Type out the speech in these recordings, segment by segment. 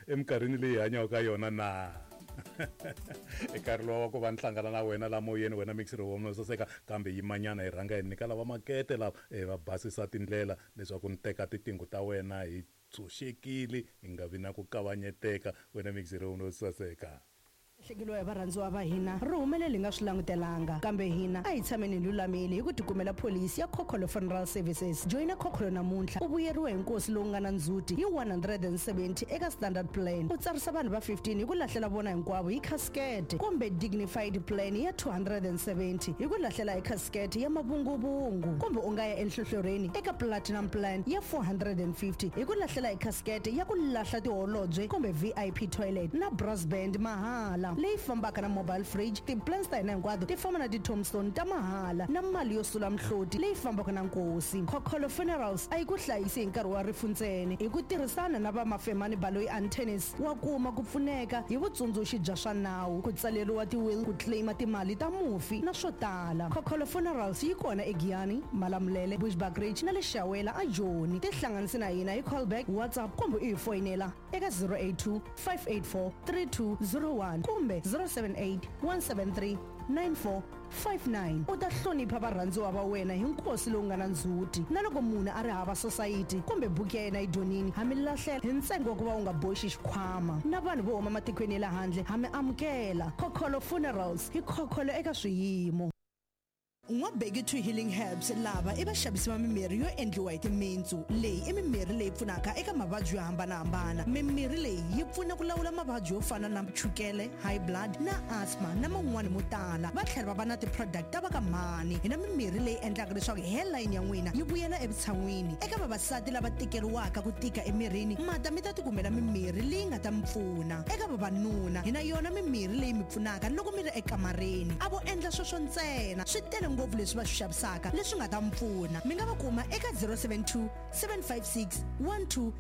Eminkarhini leyi hi hanyaka ka yona na? I nkarhi lowa wa ku va ni hlangana na wena la moyeni, wena mixiri wa mina saseka, kambe yimanyana hi rhanga hi nyika lava makete lava eh, va basisa tindlela leswaku ni teka titingo ta wena hi tshunxekile hi nga vi na ku kavanyeteka, wena mixiri wa mina saseka. Lahlekeriwa hi varhandziwa va hina ri humelele hi nga swi langutelanga. Kambe hina a hi tshameni hi lulamile hi ku tikumela pholisi ya Khokholo Funeral Services. Joyina Khokholo namuntlha u vuyeriwa hi nkosi lowu nga na ndzhuti hi 170 eka Standard Plan, u tsarisa vanhu va 15 hi ku lahlela vona hinkwavo hi khasikete, kumbe Dignified Plan ya 270 hi ku lahlela hi khasikete ya mavunguvungu, kumbe u nga ya enhlohlorheni eka Platinum Plan ya 450 hi ku lahlela hi khasikete ya ku lahla tiholobye kumbe VIP toilet na brass band mahala leyi fambaka na mobile fridge. Ti-plans ta hina hinkwato ti famba na ti-tombstone ta mahala na mali yo sula mihloti leyi fambaka na nkosi. Khokholo Funerals a yi ku hlayisi hi nkarhi wa rifu ntsena. Hi ku tirhisana na va Mafemani Baloyi Attorneys wa kuma ku pfuneka hi vutsundzuxi bya swa nawu, ku tsaleriwa ti-will, ku claim-a timali ta mufi na swo tala. Khokholo Funerals yi kona eGiyani, Malamulele, Bushbuckridge na le Shawela a Joni. Tihlanganisi na hina hi callback, WhatsApp kumbe u hi foyinela eka 082 584 3201 kumbe 078 173 9459. U ta hlonipha varhandziwa va wena hi nkosi lowu nga na ndzhuti. Na loko munhu a ri hava sosayiti kumbe buku ya yena yi dyonini, ha mi lahlela hi ntsengo wa ku va u nga boxi xikhwama. Na vanhu vo huma matikweni ya le handle ha mi amukela. Khokholo Funerals, hi khokholo eka swiyimo. N'wabeki to Healing Herbs lava i vaxavisi va mimirhi yo endliwa hi timintsu. Leyi i mimirhi leyi pfunaka eka mavabyi yo hambana-hambana. Mimirhi leyi yi pfuna ku lawula mavabyi yo fana na chukele, high blood na asthma na man'wana mo tala. Va tlhela va va na ti-product ta va ka mhani. Hi na mimirhi leyi endlaka leswaku hairline ya n'wina yi vuyela evutshan'wini. Eka vavasati lava tikeriwaka ku tika emirini, mata mi ta tikumela mimirhi leyi nga ta mi pfuna. Eka vavanuna, hi na yona mimirhi leyi mi pfunaka loko mi ri ekamareni. A vo endla sweswo ntsena, swi tele ngopfu leswi va swi xavisaka leswi nga ta mi pfuna. Mi nga va kuma eka 072 756 1200,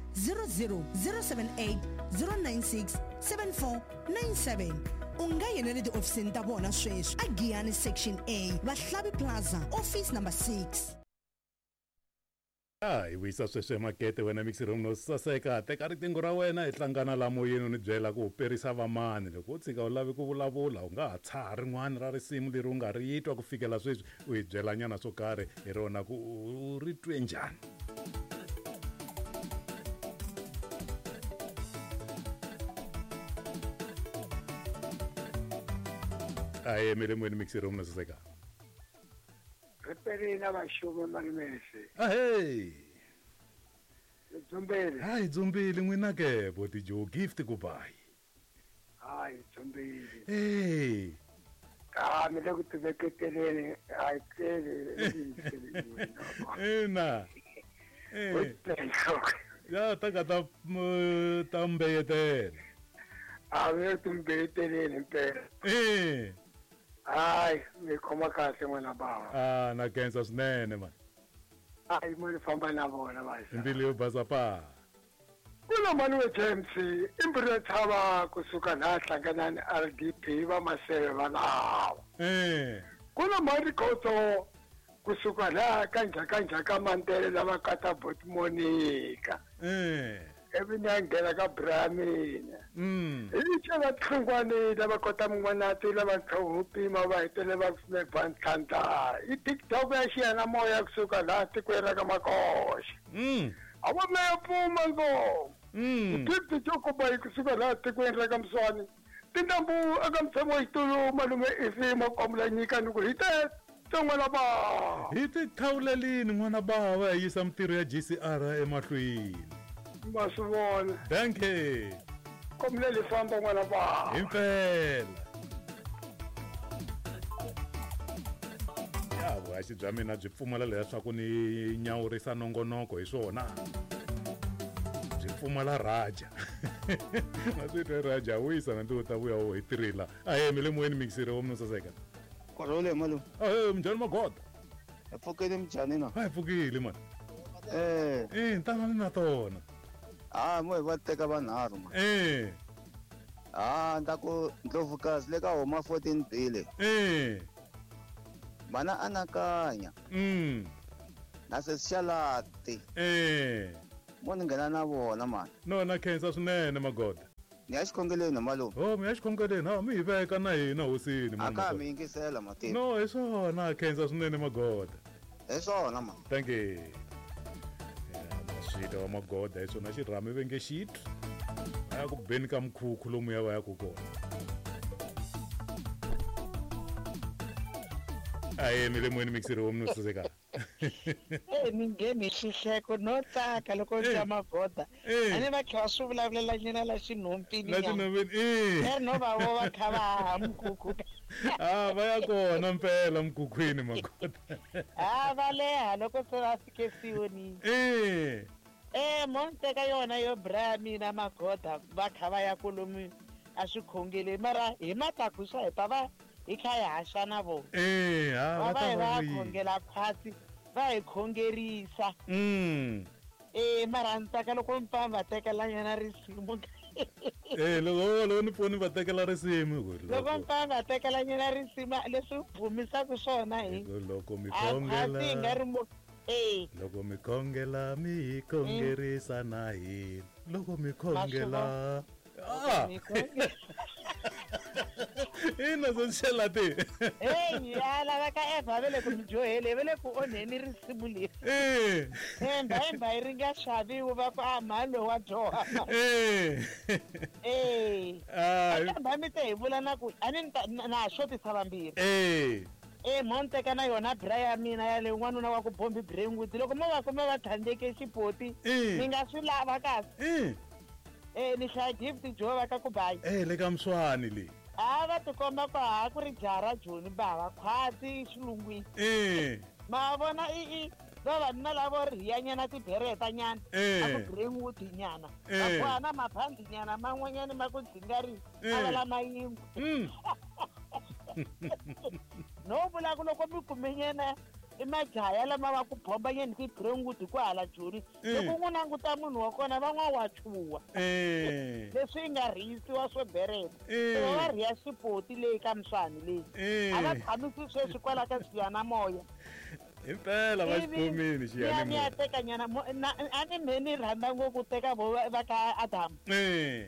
078 096 7497. U nga yena le tihofisini ta vona sweswi a Giyani Section A, Vahlavi Plaza, Office Number 6. A hi vuyisa sweswi emakete wena mixi room no saseka teka riqingho ra wena hi hlangana la moyeni u ni byela ku u perisa vamani loko u tshika u lavi ku vulavula u nga ha tshaha rin'wana ra risimu leri u nga ri twa ku fikela sweswi u hi byela nyana swo karhi hi rona ku u ri twe njhani. A hi yimele moyeni mixi room no saseka. Ri perile na vaxumi malume se. Ahee. Hi dzumbile. Ha hi dzumbile n'wina ke boti Joe gift ku bayi. Ha hi dzumbile. Hey. Ka mi le ku tiveketeleni a hi tleli Ina. Eh. Ya ta ka ta ta mbeyetela. A mi le ku timbeyeteleni impela. Eh. Hayi, mi khoma kahle n'wana bava. Ah, na khensa swinene mani. Hayi, mo ni famba na vona vaxa. Mbilu yo basa pa. Kuna mani we James, i mbirhi ya tshava kusuka laha hlanganani RDP va maseve va lawa. Eh. Kuna mani Khotso kusuka laha ka njhaka njhaka Mandela lava kata Bot Monica. Eh. Ivi ni ya nghena ka bra mina. Mm. Hi cela tlhungwani lava kota mun'wanati lava ntlhoho pima va hetelela va kume ba ntlhantlha. I TikTok ya xiyanimoya kusuka laha tikweni ra ka Makoxa. Mm. A va meya pfuma ngoma. Mm. Gift Jokuba yi kusuka laha tikweni ra ka Mswani. Tintambu eka mutshami wa xitulu malume Ifi Makwamula nyika ni ku hi te n'wana bava. Hi ti khawulelini n'wana bava hi yisa mintirho ya GCR emahlweni. Ma swi vona. Dankie. Kombela hi famba n'wana bava. Himpela. Ya vuhaxi bya mina byi pfumala leswaku ni nyawurisa nongonoko hi swona. Byi pfumala raja. Ma swi twa raja wisa na ntiwo ta vuya wo hi tirhela. Ahee mi le moyeni mixere wa munhu saseka. Korole malume. Ahee minjhani magoda? Hi pfukile minjhani na? A hi pfukile mani. Eh. Eh, ntangani na tona. Ah, mo hi va teka vanharhu mani. Eh. Ah, nda ku Ndlovukazi le ka huma 14 bile. Eh. Mana anakanya. Na sesi Xalati. Eh. Mo ni nghena na vona mani. No na khensa swinene magoda. Ni ya xikhongelweni malume. Oh, mi ya xikhongelweni, ha mi hi veka na hina hosini. A ka ha mi yingisela mativa. No, hi swona, khensa swinene Magoda. Hi swona ma. Thank you. Maswita wa Magoda hi swona xirhami ve nge xitwi. A ya ku beni ka mkhukhu lomuya va yaku kona. Ahee, mi le moyeni mixiri wa munhu saseka. E ni ngheni hi xihleko no tsaka loko ni twa Magoda. A ni va kha va swi vulavulela nyana la xinhompini La xinhompini e. Leri no va vo va kha va haha mkhukhu. Ah, va ya kona mpela mkhukhwini Magoda. Ha va leha loko se va fike Siyonini. E. E mo ni teka yona yo braya mina Magoda va kha va ya kolomu a swikhongeleni mara hi matakuxa hi ta va hi kha hi haxa na vona. E ha Va va va ta hi va va vuyile. khongela khwatsi va hi khongerisa. E mara ni tsaka loko mi pfa mi va tekela nyana risimu. E loko loko ni pfuni va tekela risimu ku Loko mi pfa mi va tekela nyana risimu leswi bvumisaka swona hi. Loko mi A khwatsi hi nga khongela ri mo e. loko mi khongela mi hi khongerisa na hina. Loko mi khongela. Ah. Mi khongela. Ina sosixelati. Hey, ya lava ka Eva va le ku mi dyohele va le ku onheni risimu leri. Eh. Emba emba yi ri nga xaviwi va ku a mhani loyi wa dyoha. Eh. Eh. Ah. Kambe mi te hi vula na ku a ni na ha xotisa vambirhi. Eh. E mo ni teka na yona bra ya mina yaleyo n'wanuna wa ku bombi Brentwood loko mo va kuma va tlhandleke xipoti mi nga swi lava kasi. Eh. Eh ni hlaya gift jo va ka ku bayi. Eh le ka Mswani le. A va tikomba ku ha ku ri jaha ra Joni bava khwatsi xilungwini. Eh. Ma vona i vavanuna lavo rhiyanyana tibereta nyana. Eh. A ku Brentwood nyana. Eh. Va boha na mabandi nyana man'wanyana ma ku dzingari a va lama yingwe. No vula ku loko mi kume nyana i majaha lama va ku bomba nyana ti Brentwood ku hala Joni. Loko n'wi languta munhu wa kona van'wa wa chuha. Eh. Leswi yi nga rhiyisiwa swo bereta. Eh. Va va rhiya xipoti leyi ka Mswani leyi. Eh. A va tshamisi sweswi kwala ka xiyanimoya. Impela va xi khomile Ni ya xiyanimoya. teka nyana a ni mhe ni rhandza ngopfu ku teka vo va ka Adam. Eh.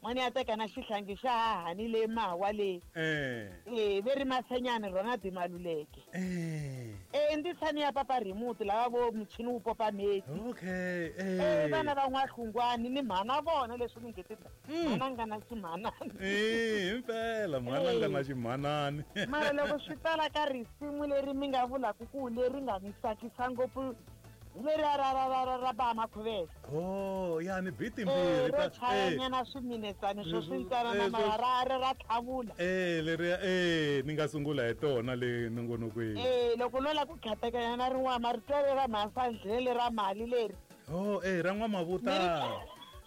N'wana ya teka na xihlangi xa hahani leyi mawa leyi. Eh. Eh ve ri masenyani rona Dimaluleke. Eh. Eh ndisani ya papa remote lava vo muchini wu popa meti. Okay. Eh vana va n'wahlungwani ni mhana vona leswi ni nge ti mhana nga na ximhanani. Eh impela mhana nga na ximhanani. Mara loko swi tala ka risimu leri mi nga vulaka ku leri nga ni tsakisa ngopfu hi leri ra ra ra ra ra ba Makhuvele. Oh, ya ni beat Eh timbirhi ro ta chayanyana swiminetsana swo swi ntsanana Eh, mara ra ra ra tlhavula. Eh leri eh ni nga sungula hi tona le nongonokweni. Eh loko no la ku khatekanya na rin'wana marito leri ra mhasandlele ra mali leri. Oh eh ra N'wamavutani.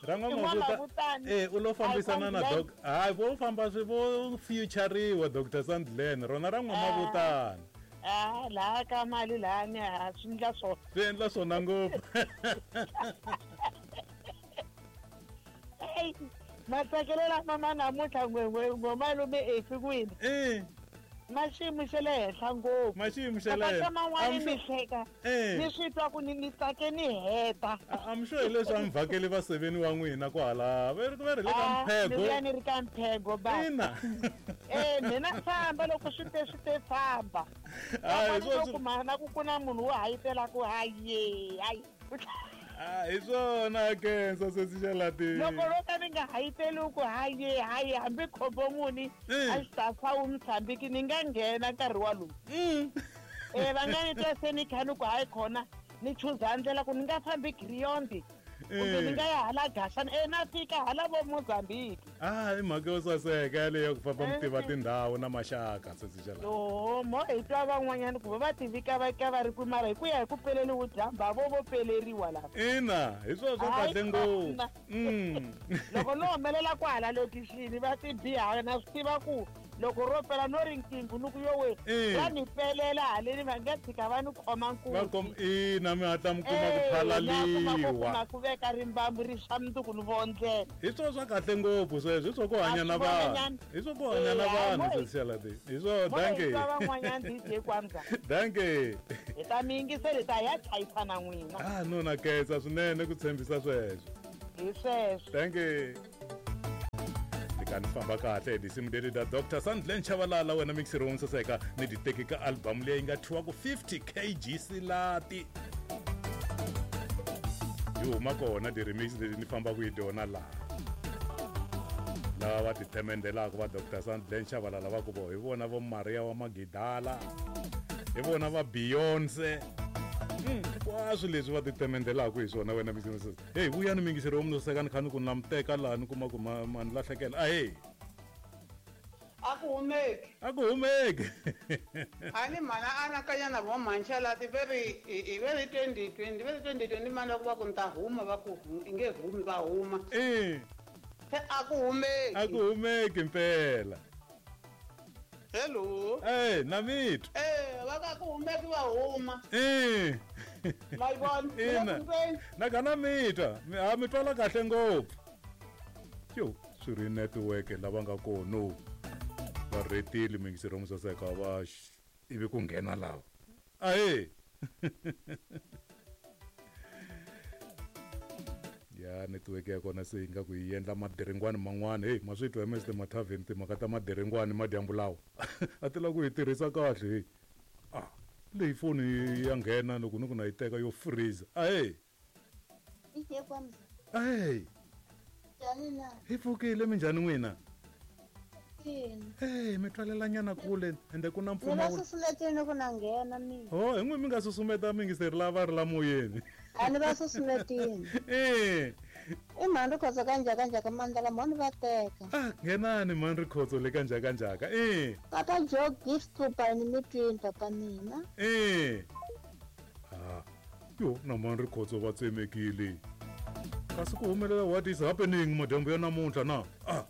Ra N'wamavutani. N'wamavutani. Eh u lo fambisana na Hayi, doc hayi vo famba swi vo featuriwa Dr Sandlen rona ra N'wamavutani. Ah laha ka mali laha ni ha swi endla swona. Swi endla swona ngopfu. Ey matsakelo lama ma namuntlha ngwemalume efi n'wina. Eh. Ma xiyimo xa le henhla ngopfu. Ma xiyimo xa le Ka henhla. man'wani mi hleka. Eh. Ni swi twa ku ni tsake ni heta. I'm sure hi leswi a mi vhakeli vaseveni wa n'wina kwahala va ri va ri le ka Ah, ni mphego. vuya ni ri ka mphego ba. Ina. Eh mina famba loko swi te swi te famba. Ah, hi Van'wana swona vo kuma na ku ku na munhu wo hayitela ku haye hayi. Ah, hi swona Khensa sesi Xalati. Loko ro ka ni nga hayiteli ku haye haye hambi khombo muni a xi ta fa wu Mozambique ni nga nghena nkarhi walowu. Eh va nga ni twa se ni kha ni ku hayi khona ni chuza ndlela ku ni nga fambi Griyondi kumbe ni nga ya hala Gashani eh na fika hala vo Mozambique. Ah, i mhaka yo saseka yaleyo ku famba mi tiva tindhawu na maxaka sesi Xalati. Yoho mo hi twa van'wanyana ku va va tivika va ka va ri kwi mara hi ku ya hi ku peleliwe dyambu a vo vo peleriwa lava. Ina, hi swona swa Hayi kahle ngopfu. khona. Loko no humelela kwahala lokixini va ti biha na swi tiva ku loko ro pela no ri nkinghu ni ku yowe Eh. va ni pelela haleni va nga tshika va ni khoma Va nkunzi. kom ina mi hatla mi kuma ku Eh, na kuma ku phalaliwa. kuma ku veka rimbambu ri swa mundzuku ni vondlela. Hi swona swa kahle ngopfu sweswo, hi swo ku hanya na A swi vona vanhu. nyana. Hi swo ku hanya na Eh, hayi, vanhu mo hi- sesi Xalati. Hi swona, Mo hi dankie. twa van'wanyana DJ Kwanza. Dankie. Hi ta mi yingisela hi ta ya chayisa na n'wina. Ah, no na khensa swinene ku tshembisa sweswo. Hi sweswo. Dankie. Ni kha ni famba kahle hi tinsimu leti ta Dr Sandlen Chavalala, wena mixer wo saseka, ni ti teki ka album leyi nga thyiwa ku 50 kg silati. Yi huma kona ti-remix leti ni fambaka hi tona laha. Lava va ti themendelaka va Dr Sandlen Chavalala va ku vo hi vona vo Maria wa Magidala, hi vona va Beyonce, hinkwaswo leswi va ti themendelaka hi swona, wena mixer. Hey, vuyani mingiseri wa munhu saseka, ni kha ni ku namuteka laha ni kuma ku ma ni lahlekela. Ahee. A ku humeki. A ku humeki. A ni mhana anakanya na vo mhanchalati ve ri hi ve ri 2020, ve ri 2020 mani, va ku va ku ni ta huma, va ku i nge humi, va huma. Se a ku humeki. A ku humeki mpela. Hello. Eh, na mitwa. Eh, va ka ku humeki, va huma. Ma yi vona? Ina. Na ka na mitwa, a mi twala kahle ngopfu. Yo, swi ri network lava nga kono va retile mingiseri wa musaseka va ivi ku nghena lava. Ahee. Ya network ya kona se yi nga ku yi endla madiringwani man'wana. Hey, ma swi twa Mr Mathaveni, timhaka ta madiringwani madyambu lawa a ti lava ku yi tirhisa kahle. Hey, ah, leyi foni ya nghena loko ni ku na yi teka yo freeze. Ahee. Ahee. Hi pfukile, minjhani n'wina? Hey, mi twalelanyana kule ende ku na Ni va mpfumawulo. Susumetini ku na nghena mina. Ho, hi n'wi mi nga susumeta mingiseri lava ri la moyeni. A ni va susumetini. I mhani Rikhotso ka Njhakanjhaka, mandla mhani va teka. Ah, nghenani mhani Rikhotso le ka Njhakanjhaka. Papa Joe Gift Tupa, ni mi twini papa mina. Ah, yo na mhani Rikhotso va tsemekile, kasi ku humelela, what is happening madyambu ya namuntlha na? Ah.